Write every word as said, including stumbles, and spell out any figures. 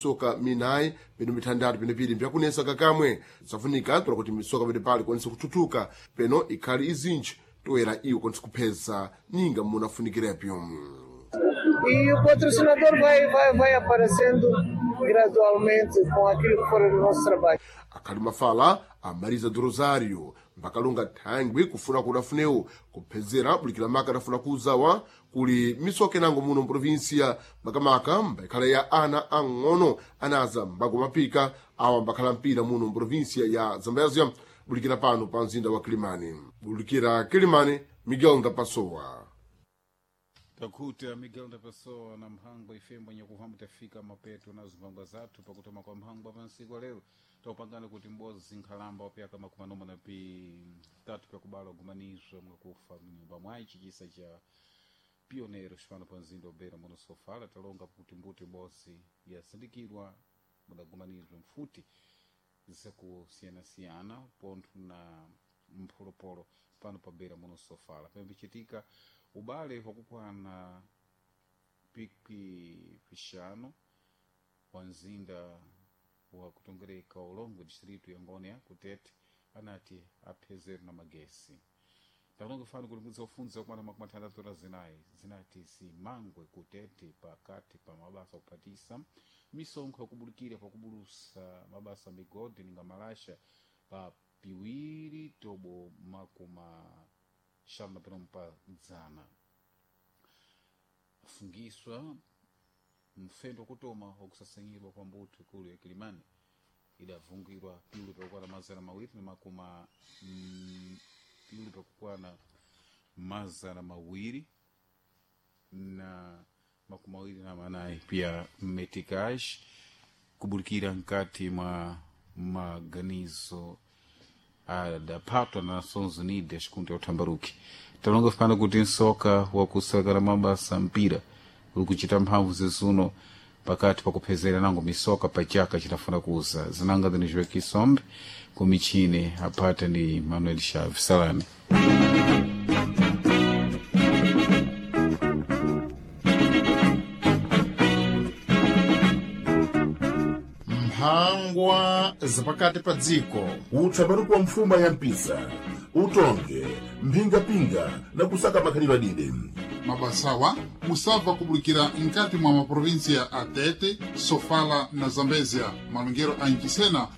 Misoka minayi peno mitandatu peno pili mbyakunesa kakamwe safunika tola kuti misoka pene pali kwanisa kuthuthuka peno ikhali izinji toera iwo kwanisa kupheza ninga munafunikirepyo. E o patrocinador vai, vai, vai aparecendo gradualmente com aquilo que for o nosso trabalho. Akhali mafala a Marisa do Rosário mbakalonga thangwi kufuna kudafunewo kuphezera bulikira maka adafuna kuuzawa kuli misoka inango muno mprovinsia makamaka mbakhala ya ana ang'ono anaza mbakumapika awa mbakhala mpira muno mprovinsia ya Zambezia bulikira pano pa mzinda wa Kilimani. Bulikira Kilimani, Miguel Ndapasowa. Takuta Miguel da Pessoa na mhango ifembo nyakuhamba tafika mapeto na zimphangwa zathu pakutoma kwa mhango apansiku lero taupangana kuti mbozi nkhalamba wapyaka makumi anoma na pitatu pyakubala kugumanizwa mwakufa mnyumba mwayi chikisa cha pionero xipano pa mzinda obera muno sofala talonga kuti mbuti bozi yasindikirwa mudagumanizwa mfuti zakusiyanasiyana pontho na mpholopolo pano pabera muno sofala pembichitika ubale wakukwana pikwi pixanu wa mzinda wa kutongereka ulongo distrito ya Ngônia kutete anati aphezero na magesi takulonga fano kuti mudzi wafunza kumana makumi atandatu na zinayi zinati zimangwe kutete pakati pa mabasa kuphatisa misonkho yakubulikira pakubulusa mabasa migodi ninga malasha pa piwiri tobo makuma xanu na pinomu pa dzana fungiswa mfendo wakutoma wakusasanyirwa kwa mbuto ikulu ya Kilimani idavungirwa piulu pakukwana mazana mawiri na makuma mm, piulu pakukwana mazana mawiri na makumi mawiri na manayi pia meticage kubulikira nkati mwa maganizo adaphatwa na Nações Unidas kunti uthambaruki talonga fana kuti nsoka wakusakala mabasa mpira uli kuchita mphamvu zizuno pakati pakuphezera nango misoka pachaka chitafuna kuza zinanga zinizwe kisombe kumichini apata ndi Manuel Chaves Salame. Mphangwa zapakati pa dziko. Utsaparuku wa mfuma ya mpisa utonge mphingapinga na kusaka makhalidwe adide. Mabasawa musabva kubulikira nkati mwa maprovinsia a Tete, Sofala na Zambezia malongero a Nchisena.